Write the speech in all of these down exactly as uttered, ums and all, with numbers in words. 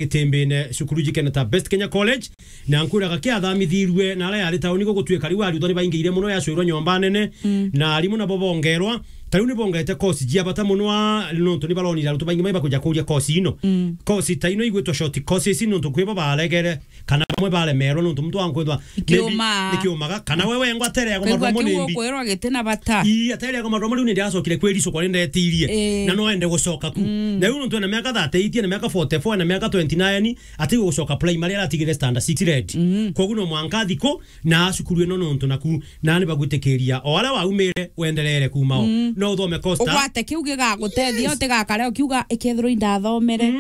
Gitimbine, cukuru jikene ta Best Kenya College, na nkwiraga kiathamitirue na aria yari tauni gugutwika riu arutwa ni baingiire muno, yacwirwa nyomba nene, na arimu nabo bongerwa. Ta riu ni bongete course jia bata muno a, nontu ni baronire arutwa baingi mai bakuja kuria course ino. Course ta ino igwitwa short courses nontu kwi bo baregere kana bamwe baremerwa nontu muntu ankwithwa nikiumaga, kana we wengwa atere ya kumatwa munimbi. Kwirwa giti na bata. Ii, atere ya kumatwa munimbi, ni ndiracokire kwiricukwa ni ndetirie. Na no ende gucoka ku. Na riu nontu ena miaka thirty-eight, ena miaka forty-four, ena miaka twenty-nine, ati gucoka primary, aratigire standard six red. Koguo no mwanka athi ku na acukuru ino nontu naku, na ni bagwitikiria o aria waumire wendereere kuuma o. No uthome course ta ugwate kiu gigagutethia, utigakare ukiuga, "Ikethirwa indathomere."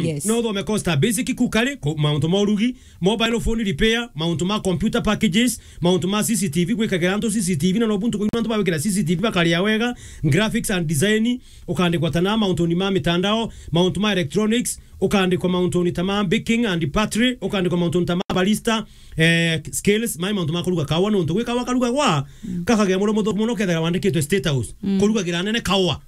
Yes. No uthome course ta basic cookery, ku-, mauntu ma urugi, mobile phone repair, mauntu ma computer packages, mauntu ma C C T V, gwikagira antu C C T V, na no buntu kuuma antu bagwikira C C T V bakaria wega, graphics and design, ukandikwa ta na mauntu ni ma mitandao, mauntu ma electronics, ukandikwa mauntu ni ta ma baking and pottery, ukandikwa mauntu ni ta ma barista, eh, skills, mai mauntu ma kuruga kawa, nontu gwi kawa karugagwa, gakagia muno muthuku muno, kethira wandikitwe State House, kurugagira anene kawa.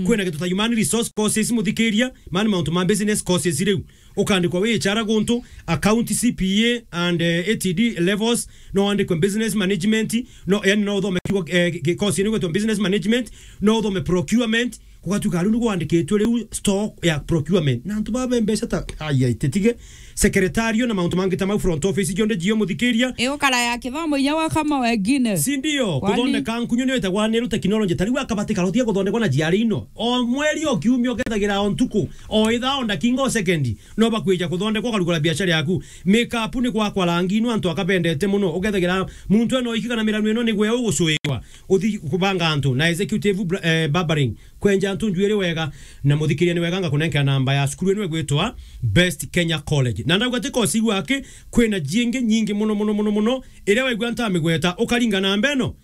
Kwina gintu ta human resource courses, muthikiria, mani mauntu ma business courses riu. Ukandikwa wi H R guntu, account, C P A and, eh, A T D levels, no wandikwe business management, no, yani no uthome kiugo, eh, ki-, course ni gwitwa business management, no uthome procurement, gugatuika riu ni gwandikitwe riu stock ya procurement. Na antu babe mbeca ta, ai, ai, titige, secretarial na mauntu mangi ta mau, front office, jonde jio muthikiria. Iu kara ya kithomo inya gwa kama wengine. Si ndio? Kwani? Kuthondeka nkunyu niyo itagwa niru technology. Ta riu akabati karotia kuthondekwa na jiari ino. O mweri, o kiumia, ukethagira o ntuku, o ithaa, o ndakinga, o sekendi, no bakwija kuthondekwa, ukarugura biashara yaku. Makeup ni gwakwa rangi ino antu akabendete muno. Ukethagira muntu eno iki kana miranu ino ni gwe ugucuirwa. Uthi kubanga antu na executive bra-, eh, barbering. Kwenja antu njuiri wega na muthikiria ni wega, ngakunenkera namba ya cukuru ino igwitwa Best Kenya College. Na ndauga ti kosi gwake, kwina jingi nyingi muno, muno, muno, muno, iria waigua ntamigweta, ukaringa namba ino,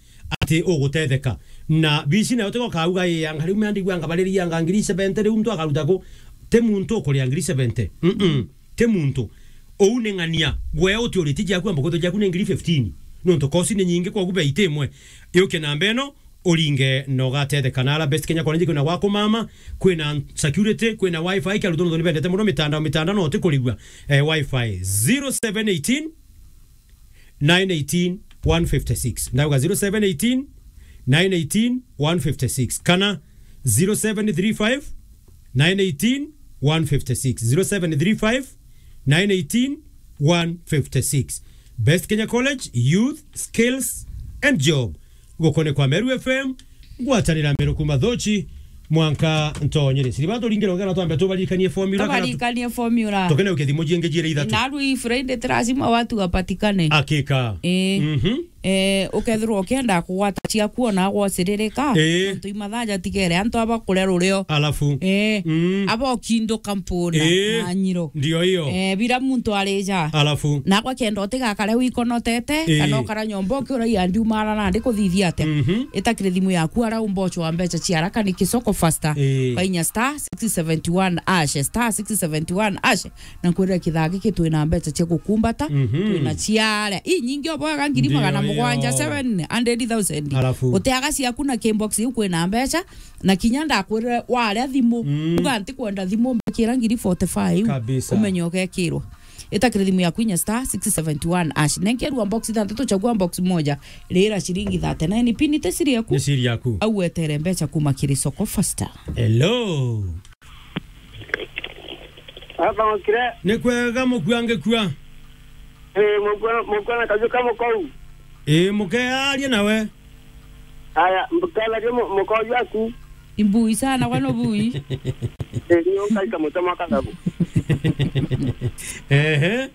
ati ugutetheka. Na bici nayo tigo kauga, "Ii, anga riu meandigua anga baririanga ngiri seventy, riu muntu akaruta ku?" Ti muntu ukuria ngiri seventy. Mm-mm. Ti muntu. Uu ni ng'ania. Gwe uti uriti jaku, amba kwithwa jaku ni ngiri fifteen. Nontu kosi ni nyingi, kogu bei ti imwe. Yuke namba ino, uringe na ugatetheka. Na ara Best Kenya College kwina gwa kumama, kwina security, kwina wifi, kia rutono ni bendete muno mitandao, mitandao no ti kurigwa. Eh, wifi zero seven eighteen, nine eighteen, one fifty-six. Ndauga zero seven eighteen, nine eighteen, one fifty-six. Kana zero seven three five, nine eighteen, one fifty-six. Zero seven three five, nine eighteen, one fifty-six. Best Kenya College, Youth, Skills and Job. Gukone kwa Meru F M, ngwatanira Meru kuma Thochi, mwanka ntonyere. Siri batu ringire ugana twambe tubarikanie formula kana tu-, tubarikanie formula. Tukene uke thimu jingi jire ithatu. Na rui Friday ti lazima watu wapatikane. Hakika. Eh. Mhm. Eh, ukethirwa ukienda kugwata ciaku ona gwociririka, eh, nontu imathaa jatigere antu aba kuria rurio. Alafu. Eh, mm, aba ukinduka mpuna, eh, na nyiro. Ndio hiyo. Eh, bila muntu arija. Alafu. Nakwa kenda utigakare wikonotete, eh, kana ukara nyomba ukiuragia ndiumara nandi kuthithia atia. Mhm. Itakire thimu yaku ara umbocho wa mbeca cia haraka ni kisoko faster. Eh. Kainya star six seventy one hash, star six seventy one hash. Na nkwirira kithaa giki twina mbeca cia gukumbata, mhm, twina ciaria. Ii nyingi oboaga ngiri magana mugwanja, ndio, ndio, seven hundred thousand. Alafu. Uteaga ciaku na kibox iu kwina mbeca, na kinya ndakwirire waria thimu, mm, uga ntikwenda thimu, mbikira ngiri forty-five. Kabisa. Umenye ugekirwa. Itakire thimu yaku inya star six seventy one hash. Nenkerwa box ithanthatu, chagua box moja, rira ciringi thirty-nine. Pini te siri yaku. Ni siri yaku. Au wetere mbeca kuma kiri soko faster. Hello. Aba okire. Ni kwega mukua ngikua. Eh, mukua, mukua na kaju ka mukou. Eh, mukearia nawe. Aya, mbukenagia mu-, mukoju aku. Imbui sana, kwani ubui? Eh, nio nkaika mutema kathabu. Ehe.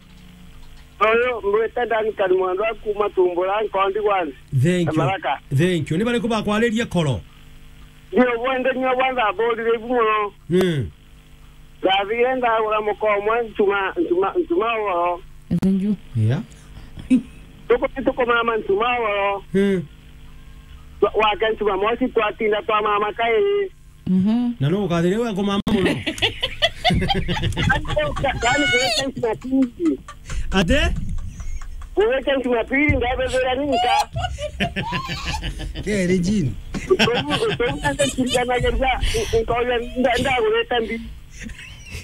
Oyo, mwite Duncan Mwandwa kuma Tumbura, Nkondi One. Thank you. Kamaraka. Thank you. Ni bariku bakwariria koro? Ndio, bwende nio bwanza bodi ibu muno. Mm. Ndathire ndagura muka umwe ntuma, ntuma, ntuma ugoro. Thank you. Yeah. Tuku-, tukumama ntuma ugoro. Hmm. Wa-, wake ntuma mosi twatinda twamama kairi. Mhm. Na no ukathire we kumama muno. Yaani, yaani, gwete ntuma pili. Ate? Gwete ntuma pili, ndabethera ninka. Keri Jean. Utobu, utobu, nda-, nda-, nda-, nda-, ndagurite mbi.